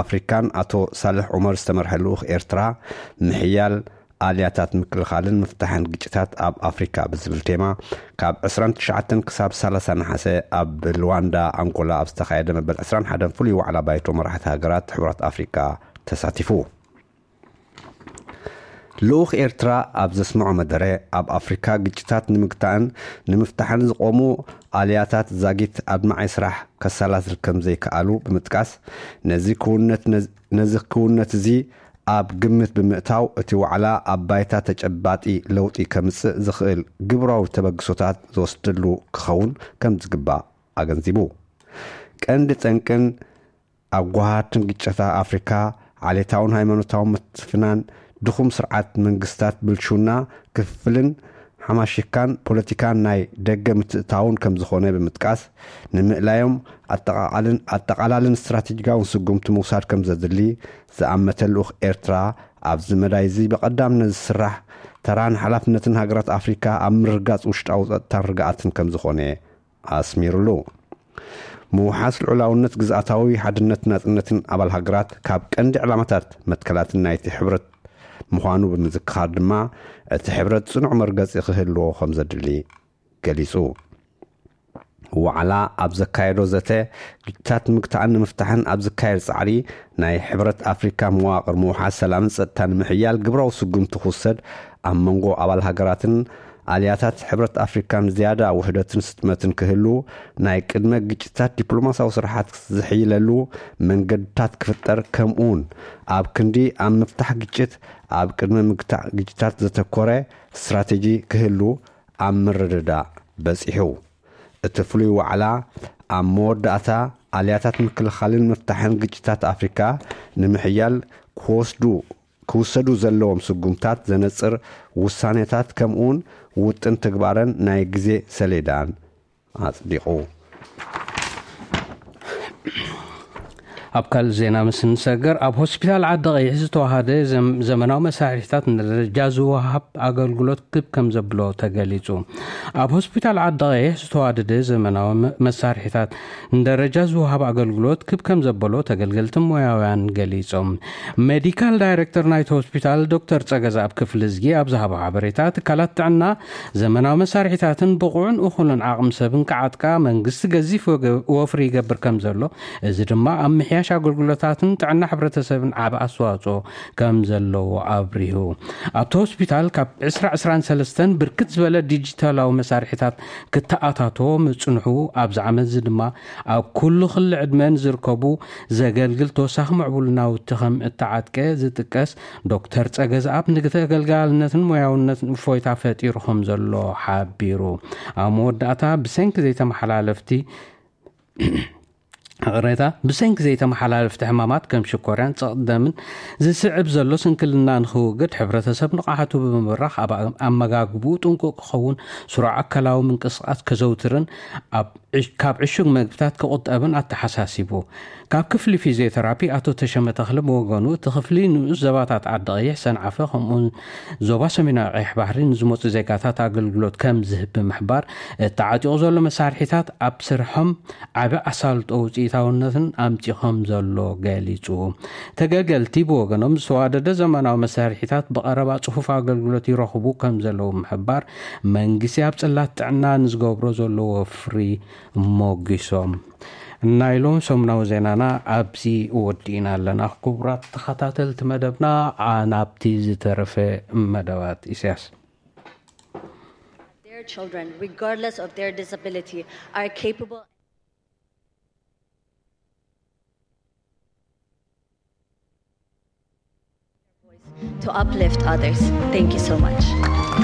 ኣፍሪካን ኣቶ ሳልሕ ዑመር ዝተመርሐ ልኡኽ ኤርትራ፣ ምሕያል ኣልያታት ምክልኻልን ምፍታሕን ግጭታት ኣብ ኣፍሪካ ብዝብል ቴማ ካብ ዕስራን ትሽዓተን ክሳብ ሰላሳ ነሓሰ ኣብ ሉዋንዳ ኣንጎላ ኣብ ዝተኻየደ መበል ዕስራን ሓደን ፍሉይ ዋዕላ ባይቶ መራሕቲ ሃገራት ሕቡራት ኣፍሪካ ተሳቲፉ። ልኡኽ ኤርትራ ኣብ ዘስምዖ መደረ፣ ኣብ ኣፍሪካ ግጭታት ንምግታእን ንምፍታሕን ዝቆሙ ኣልያታት ዛጊት ኣድማዒ ስራሕ ከሰላስል ከም ዘይከኣሉ ብምጥቃስ፣ ነዚ ክውነት ነዚ ክውነት እዚ ኣብ ግምት ብምእታው፣ እቲ ዋዕላ ኣብ ባይታ ተጨባጢ ለውጢ ከምጽእ ዝኽእል ግብራዊ ተበግሶታት ዝወስደሉ ክኸውን ከም ዝግባእ ኣገንዚቡ። ቀንዲ ጠንቅን ኣጓሃርትን ግጭታት ኣፍሪካ፣ ዓሌታውን ሃይማኖታውን ምትፍናን፣ ድኹም ስርዓት መንግስታት፣ ብልሹና፣ ክፍፍልን ሓማሽካን ፖለቲካን ናይ ደገ ምትእታውን ከም ዝኾነ ብምጥቃስ፣ ንምእላዮም ኣጠቓቓልን ኣጠቓላልን ስትራቴጂካውን ስጉምቲ ምውሳድ ከም ዘድሊ ዝኣመተ ልኡኽ ኤርትራ፣ ኣብዚ መዳይ እዚ ብቐዳምነት ዝስራሕ ተራን ሓላፍነትን ሃገራት ኣፍሪካ ኣብ ምርግጋጽ ውሽጣዊ ጸጥታን ርግኣትን ከም ዝኾነ ኣስሚሩሉ። ምውሓስ ልዑላውነት፣ ግዝኣታዊ ሓድነት፣ ናጽነትን ኣባል ሃገራት ካብ ቀንዲ ዕላማታት መትከላትን ናይቲ ሕብረት ምዃኑ ብምዝክኻር ድማ፣ እቲ ሕብረት ጽኑዕ መርገጺ ክህልዎ ከም ዘድሊ ገሊጹ። ዋዕላ ኣብ ዘካየዶ ዘተ፣ ግጭታት ምግታእን ንምፍታሕን ኣብ ዝካየድ ጻዕሪ ናይ ሕብረት ኣፍሪካ መዋቕር ምውሓስ ሰላምን ጸጥታን ንምሕያል ግብራዊ ስጉምቲ ክውሰድ፣ ኣብ መንጎ ኣባል ሃገራትን ኣልያታት ሕብረት ኣፍሪካን ዝያዳ ውህደትን ስጥመትን ክህሉ፣ ናይ ቅድመ ግጭታት ዲፕሎማሲያዊ ስራሓት ዝሕይለሉ መንገድታት ክፍጠር፣ ከምኡውን ኣብ ክንዲ ኣብ ምፍታሕ ግጭት ኣብ ቅድመ ምግታእ ግጭታት ዘተኮረ ስትራቴጂ ክህሉ ኣብ ምርድዳእ በጺሑ። እቲ ፍሉይ ዋዕላ ኣብ መወዳእታ፣ ኣልያታት ምክልኻልን ምፍታሕን ግጭታት ኣፍሪካ ንምሕያል ክወስዱ ክውሰዱ ዘለዎም ስጉምታት ዘነጽር ውሳኔታት፣ ከምኡውን ውጥን ተግባረን ናይ ግዜ ሰሌዳን ኣጽዲቑ። ኣብ ካልእ ዜና ምስ እንሰገር፣ ኣብ ሆስፒታል ዓዲ ቀይሕ ዝተዋሃደ ዘም-፣ ዘመናዊ መሳርሒታት ንደረጃ ዝወሃብ ኣገልግሎት ክብ ከም ዘብሎ ተገሊጹ። ኣብ ሆስፒታል ዓዲ ቀይሕ ዝተዋደደ ዘመናዊ መ-፣ መሳርሒታት ንደረጃ ዝወሃብ ኣገልግሎት ክብ ከም ዘበሎ ተገልገልትን ሞያውያን ገሊጾም። ሜዲካል ዳይሬክተር ናይቲ ሆስፒታል ዶክተር ጸገዛኣብ ክፍልዝጊ ኣብ ዝሃቦ ሓበሬታ፣ ትካላት ጥዕና ዘመናዊ መሳርሒታትን ብቑዕን እኹልን ዓቕሚ ሰብን ክዓጥቃ መንግስቲ ገዚፍ ወገ-፣ ወፍሪ ይገብር ከም ዘሎ፣ እዚ ድማ ኣብ ምሕያሽ ኣገልግሎታትን ጥዕና ሕብረተሰብን ዓቢ ኣስተዋጽኦ ከም ዘለዎ ኣብሪሁ። ኣብቲ ሆስፒታል ካብ ዕስራ ዕስራን ሰለስተን ብርክት ዝበለ ዲጂታላዊ መሳርሒታት ክተኣታቶ ምጽንሑ፣ ኣብዚ ዓመት እዚ ድማ ኣብ ኩሉ ክሊ ዕድመ ንዝርከቡ ዘገልግል ተወሳኺ ምዕቡል ናውቲ ከም እተዓጥቀ ዝጥቀስ ዶክተር ጸገዝኣብ፣ ንተገልጋልነትን ሞያውነትን እፎይታ ፈጢሩ ከም ዘሎ ሓቢሩ። ኣብ መወዳእታ፣ ብሰንኪ ዘይተመሓላለፍቲ ይቕሬታ፣ ብሰንኪ ዘይተመሓላለፍቲ ሕማማት ከም ሽኮርያን ጸቕጢ ደምን ዝስዕብ ዘሎ ስንክልና ንኽውግድ፣ ሕብረተሰብ ንቕሓቱ ብምብራኽ ኣብ ኣመጋግብኡ ጥንቁቕ ክኸውን፣ ስሩዕ ኣካላዊ ምንቅስቓስ ከዘውትርን ኣብ ዕሽ-፣ ካብ ዕሹግ መግብታት ክቑጠብን ኣተሓሳሲቡ። ካብ ክፍሊ ፊዚዮቴራፒ ኣቶ ተሸመ ተኽለ ብወገኑ፣ እቲ ክፍሊ ንኡስ ዘባታት ዓዲ ቀይሕ፣ ሰንዓፈ፣ ከምኡውን ዞባ ሰሜናዊ ቀይሕ ባሕሪ ንዝመጹ ዜጋታት ኣገልግሎት ከም ዝህብ ብምሕባር፣ እቲ ዓጢቑ ዘሎ መሳርሒታት ኣብ ስርሖም ዓቢ ኣሳልጦ ውጽኢታውነትን ኣምጺ ከም ዘሎ ገሊጹ። ተገልገልቲ ብወገኖም፣ ዝተዋደደ ዘመናዊ መሳርሒታት ብቐረባ ጽፉፍ ኣገልግሎት ይረኽቡ ከም ዘለዉ ብምሕባር፣ መንግስቲ ኣብ ጽላት ጥዕና ንዝገብሮ ዘሎ ወፍሪ ሞጊሶም። ናይ ሎም ሰሙናዊ ዜናና ኣብዚ ወዲእና ኣለና። ክቡራት ተኸታተልቲ መደብና፣ ኣ-፣ ናብቲ ዝተረፈ መደባት ኢሳያስ። Their children, regardless of their disability, are capable to uplift others. Thank you so much.